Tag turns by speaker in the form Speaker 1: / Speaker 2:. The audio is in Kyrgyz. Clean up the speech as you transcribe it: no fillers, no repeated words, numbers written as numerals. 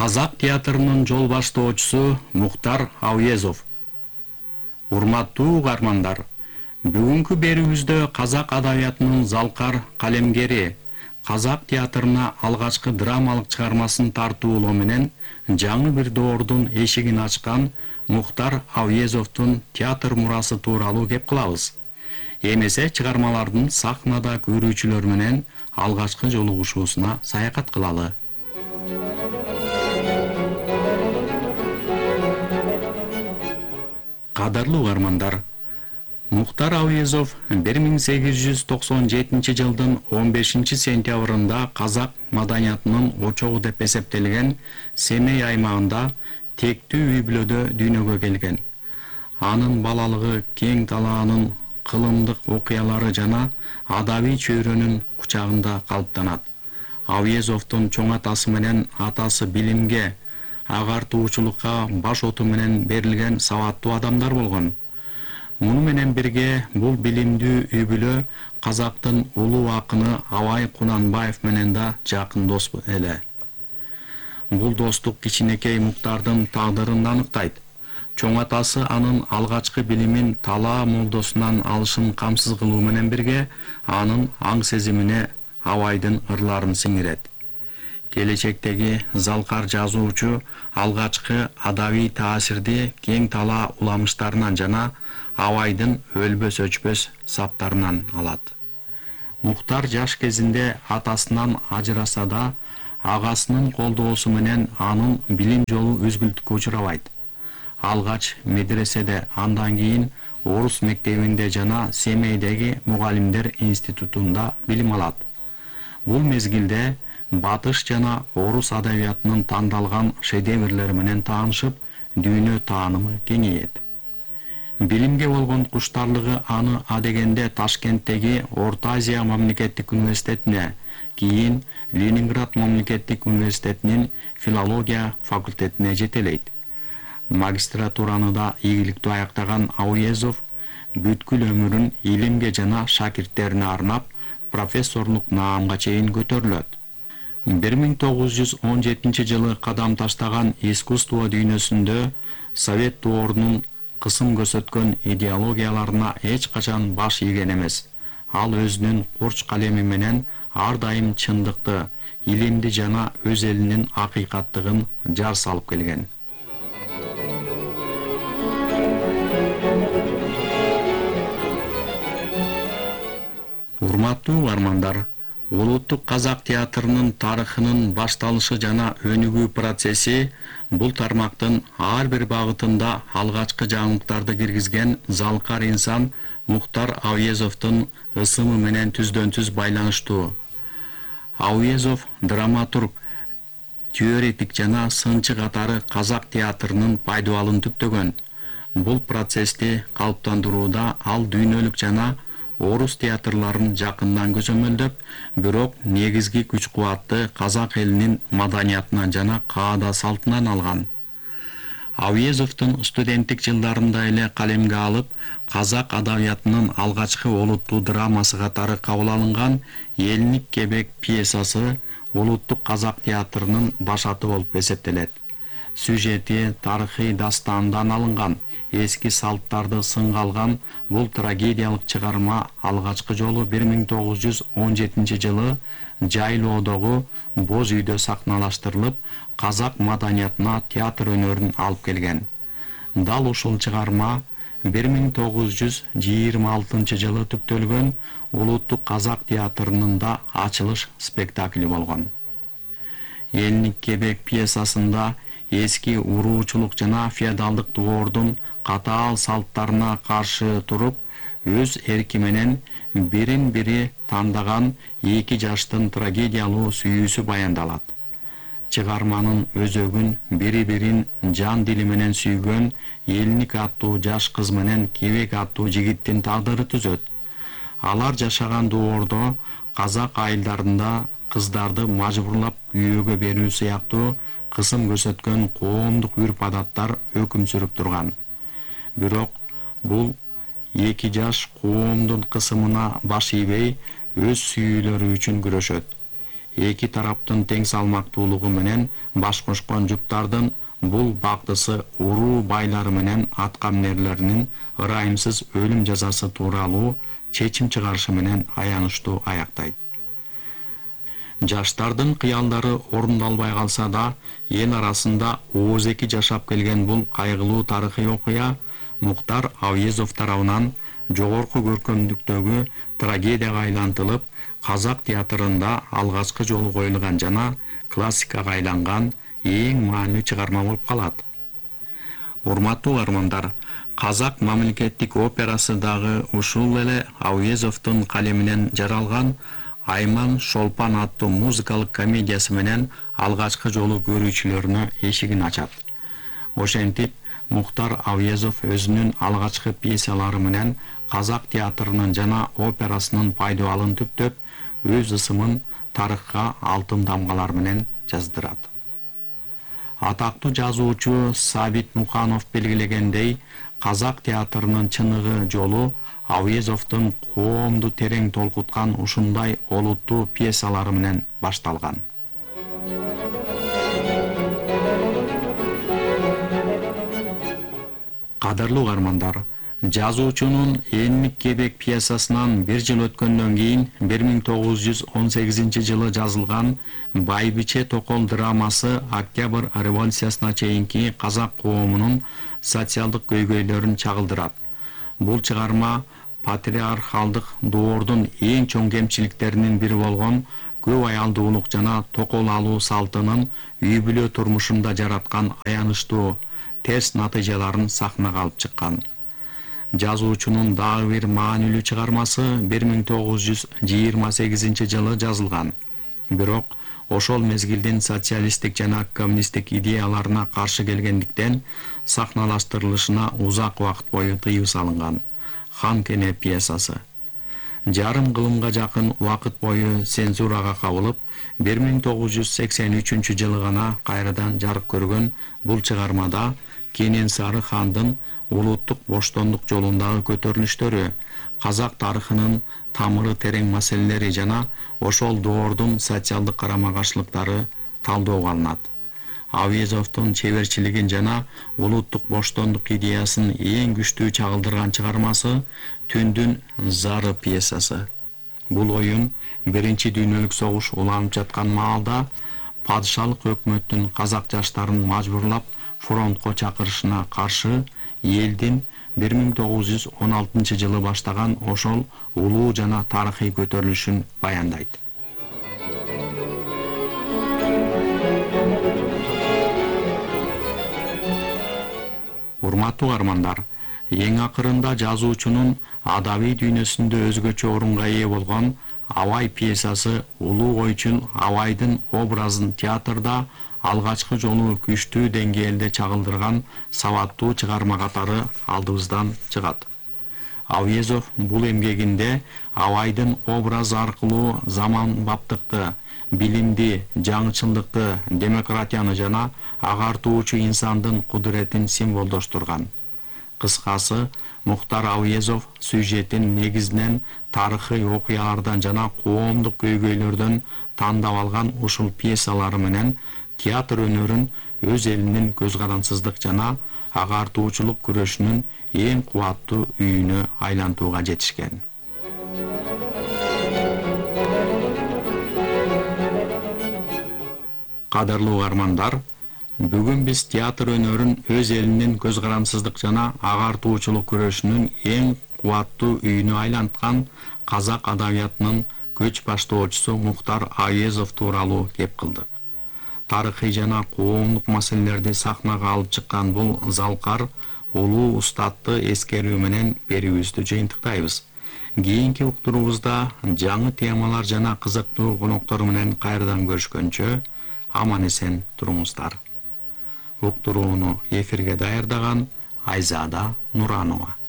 Speaker 1: Казак театрынын жол баштоочусу Мухтар Ауезов. Урматтуу угармандар, бүгүнкү берүүбүздө казак адабиятынын залкар калемгери, казак театрына алгачкы драмалык чыгармасын тартуулоо менен жаңы бир доордун эшигин ачкан Мухтар Ауезовдун театр мурасы тууралуу кеп кылабыз. Эмесе чыгармалардын сахнада көрүүчүлөр менен алгачкы жолугушуусуна саякат кылалы. Кадырлуу угармандар, Мухтар Ауезов 1897 жылдын 15 сентябрында казак маданиятынын очогу деп эсептелген Семей аймагында тектүү үй-бүлөдө дүйнөгө келген. Анын балалыгы кең талаанын кылымдык окуялары жана адабий чөйрөнүн кучагында калыптанат. Ауезовдун чоң атасы менен атасы билимге, агартуучулукка баш оту менен берилген сабаттуу адамдар болгон. Муну менен бирге бул билимдүү үй-бүлө казактын улуу акыны Абай Кунанбаев менен да жакын дос эле. Бул достук кичинекей Муктардын тагдырын аныктайт. Чоң атасы анын алгачкы билимин талаа молдосунан алышын камсыз кылуу менен бирге анын аң сезимине Абайдын ырларын сиңирет. Келечектеги залкар жазуучу алгачкы адабий таасирди кең талаа уламыштарынан жана Абайдын өлбөс өчпөс саптарынан алат. Мухтар жаш кезинде атасынан ажыраса да, агасынын колдоосу менен анын билим жолу үзгүлтүккө учурабайт. Алгач медреседе, андан кийин орус мектебинде жана Семейдеги мугалимдер институтунда билим алат. Бул мезгилде батыш жана орус адабиятынын тандалган шедеврлери менен таанышып, дүйнө таанымы кеңейет. Билимге болгон куштарлыгы аны адегенде Ташкенттеги Орто Азия мамлекеттик университетине, кийин Ленинград мамлекеттик университетинин филология факультетине жетелейт. Магистратураны да ийгиликтүү аяктаган Ауезов бүткүл өмүрүн илимге жана шакирттерине арнап, профессорлук наамга чейин көтөрүлөт. 1917 жылы кадам таштаган искусство дүйнөсүндө Совет доорунун кысым көрсөткөн идеологияларына эч качан баш ийген эмес. Ал өзүнүн курч калеми менен ар дайым чындыкты, илимди жана өз элинин акыйкаттыгын жар салып келген. Урматтуу угармандар, улуттук казак театрынын тарыхынын башталышы жана өнүгүү процесси бул тармактын ар бир багытында алгачкы жаңылыктарды киргизген залкар инсан Мухтар Ауезовдун ысымы менен түздөн-түз байланыштуу. Ауезов драматург, теоретик жана сынчы катары казак театрынын пайдубалын түптөгөн. Бул процессти калыптандырууда ал дүйнөлүк жана орус театрларын жакындан көзөмөлдөп, бирок негизги күч-кубатты казак элинин маданиятынан жана каада салтынан алган. Ауезовдун студенттик жылдарында эле калемге алып, казак адабиятынын алгачкы олуттуу драмасы катары кабыл алынган Элник кебек пьесасы улуттук казак театрынын башаты болуп эсептелет. Сюжети тарыхый дастандан алынган, эски салттарды сынга алган бул трагедиялык чыгарма алгачкы жолу 1917 жылы Жайлоодогу боз үйдө сахналаштырылып, казак маданиятына театр өнөрүн алып келген. Дал ушул чыгарма 1926 жылы түптөлгөн улуттук казак театрынын да ачылыш спектакли болгон. Элник кебек пьесасында эски уруучулук жана феодалдык доордун катаал салттарына каршы туруп, өз эрки менен бирин-бири тандаган эки жаштын трагедиялуу сүйүүсү баяндалат. Чыгарманын өзөгүн бири-бирин жан дили менен сүйгөн Элник аттуу жаш кыз менен Кебек аттуу жигиттин тагдыры түзөт. Алар жашаган доордо казак айылдарында кыздарды мажбурлап күйөөгө берүү сыяктуу кысым көрсөткөн коомдук үрп-адаттар өкүм сүрүп турган. Бирок бул эки жаш коомдун кысымына баш ийбей, өз сүйүүлөрү үчүн күрөшөт. эки тараптын тең салмактуулугу менен баш кошкон жуптардын бул бактысы уруу байлары менен аткаминерлеринин ырайымсыз өлүм жазасы тууралуу чечим чыгарышы менен аянычтуу аяктайт. Жаштардын кыялдары орундалбай калса да, эл арасында оозеки жашап келген бул кайгылуу тарыхый окуя Мухтар Ауезов тарабынан жогорку көркөмдүктөгү трагедияга айлантылып, казак театрында алгачкы жолу коюлган жана классикага айланган эң маанилүү чыгарма болуп калат. Урматтуу угармандар, Казак мамлекеттик операсы дагы ушул эле Ауезовдун калеминен жаралган Айман Шолпан аттуу музыкалык комедиясы менен алгачкы жолу көрүүчүлөрүнө эшигин ачат. Ошентип, Мухтар Ауезов өзүнүн алгачкы пьесалары менен казак театрынын жана операсынын пайдубалын түптөп, өз ысымын тарыхка алтын дамгалар менен жаздырат. Атактуу жазуучу Сабит Муканов белгилегендей, казак театрынын чыныгы жолу Ауезовдун коомду терең толкуткан ушундай олуттуу пьесалары менен башталган. Кадырлуу угармандар, жазуучунун Энмик кебек пьесасынан 1 жыл өткөндөн кийин 1918 жылы жазылган Байбиче Токол драмасы Октябрь революциясына чейинки казак коомунун социалдык көйгөйлөрүн чагылдырат. Бул чыгарма патриархалдык доордун эң чоң кемчиликтеринин бири болгон көп аялдуулук жана токол алуу салтынын үй бүлө турмушунда жараткан аянычтуу терс натыйжаларын сахнага алып чыккан. Жазуучунун дагы бир маанилүү чыгармасы 1928 жылы жазылган. Бирок ошол мезгилдин социалисттик жана коммунисттик идеяларына каршы келгендиктен сахналаштырылышына узак убакыт бою тыюу салынган. Хан Кене пьесасы. Жарым кылымга жакын убакыт бою цензурага кабылып, 1983 жылы гана кайрадан жарык көргөн бул чыгармада Кененсары хандын улуттук боштондук жолундагы көтөрүлүштөрү, казак тарыхынын тамыры терең маселелери жана ошол доордун социалдык карама-каршылыктары талдоого алынат. Ауезовдун чеберчилигин жана улуттук боштондук идеясын эң күчтүү чагылдырган чыгармасы Түндүн зары пьесасы. Бул оюн Биринчи дүйнөлүк согуш уланып жаткан маалда падышалык өкмөттүн казак жаштарын мажбурлап фронтко чакырышына каршы элдин 1916 жылы баштаган ошол улуу жана тарыхый көтөрүлүшүн баяндайт. Урматтуу угармандар, эң акырында жазуучунун адабий дүйнөсүндө өзгөчө орунга ээ болгон Абай пьесасы улуу ойчун Абайдын образын театрда алгачкы жолу күчтүү деңгээлде чагылдырган сабаттуу чыгарма катары алдыбыздан чыгат. Ауезов бул эмгегинде Абайдын образы аркылуу заманбаптыкты, билимди, жаңычылдыкты, демократияны жана агартуучу инсандын кудуретин символдоштурган. Кыскасы, Мухтар Ауезов сюжетин негизинен тарыхый окуялардан жана коомдук көйгөйлөрдөн тандап алган ушул пьесалары менен театр өнөрүн өз элинин көз карансыздык жана агартуучулук күрөшүнүн эң кубаттуу үйүнө айлантууга жетишкен. Кадырлуу угармандар, бүгүн биз театр өнөрүн өз элинин көз карансыздык жана агартуучулук күрөшүнүн эң кубаттуу үйүнө айланткан казак адабиятынын көч баштоочусу Мухтар Ауезов тууралуу кеп кылдык. Тарыхый жана коомдук маселелерди сахнага алып чыккан бул залкар улуу устатты эскерүү менен берүүбүздү жыйынтыктайбыз. Кийинки уктуруубузда жаңы темалар жана кызыктуу коноктор менен кайрадан көрүшкөнчө аман эсен туруңуздар. Уктурууну эфирге даярдаган Айзада Нуранова.